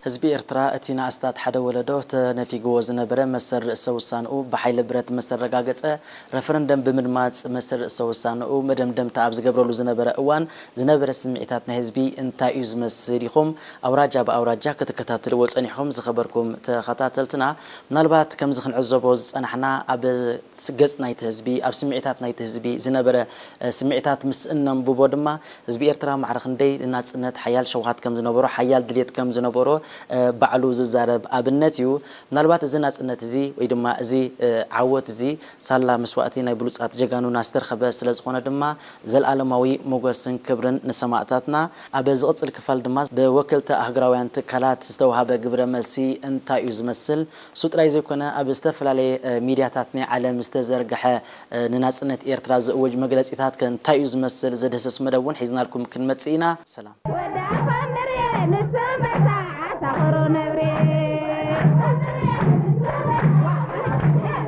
ህዝቢ ኤርትራ እቲ ንኣስታት ሓደ ወለዶ ተነፊግዎ ዝነበረ መሰል ርእሰ ውሳንኡ ብሓይሊ ብረት ምስ ኣረጋገጸ፣ ረፈረንደም ብምድማጽ መሰል ርእሰ ውሳንኡ መደምደምታ ኣብ ዝገብረሉ ዝነበረ እዋን ዝነበረ ስምዒታት ናይ ህዝቢ እንታይ እዩ ዝመስል ኢኹም ኣውራጃ ብኣውራጃ ክትከታተልዎ ጸኒሕኹም ዝኸበርኩም ተኸታተልትና። ምናልባት ከምዚ ክንዕዘቦ ዝጸናሕና ኣብ ገጽ ናይቲ ህዝቢ ኣብ ስምዒታት ናይቲ ህዝቢ ዝነበረ ስምዒታት ምስ እነንብቦ ድማ ህዝቢ ኤርትራ ማዕረ ክንደይ ንናጽነት ሓያል ሸውሃት ከም ዝነበሮ ሓያል ድሌት ከም ዝነበሮ ባዕሉ ዝዛረብ ኣብነት እዩ። ምናልባት እዚ ናጽነት እዚ ወይ ድማ እዚ ዓወት እዚ ሳላ መስዋእቲ ናይ ብሉጻት ጀጋኑና ዝተርኸበ ስለ ዝኾነ ድማ ዘልኣለማዊ ሞገስን ክብርን ንሰማእታትና። ኣብ ዝቕጽል ክፋል ድማ ብወከልቲ ኣህግራውያን ትካላት ዝተውሃበ ግብረ መልሲ እንታይ እዩ ዝመስል? እሱ ጥራይ ዘይኮነ ኣብ ዝተፈላለየ ሚድያታት ናይ ዓለም ዝተዘርግሐ ንናጽነት ኤርትራ ዝእውጅ መግለጺታት ከ እንታይ እዩ ዝመስል ዝድህስስ መደብ እውን ሒዝናልኩም ክንመጽእ ኢና። ሰላም።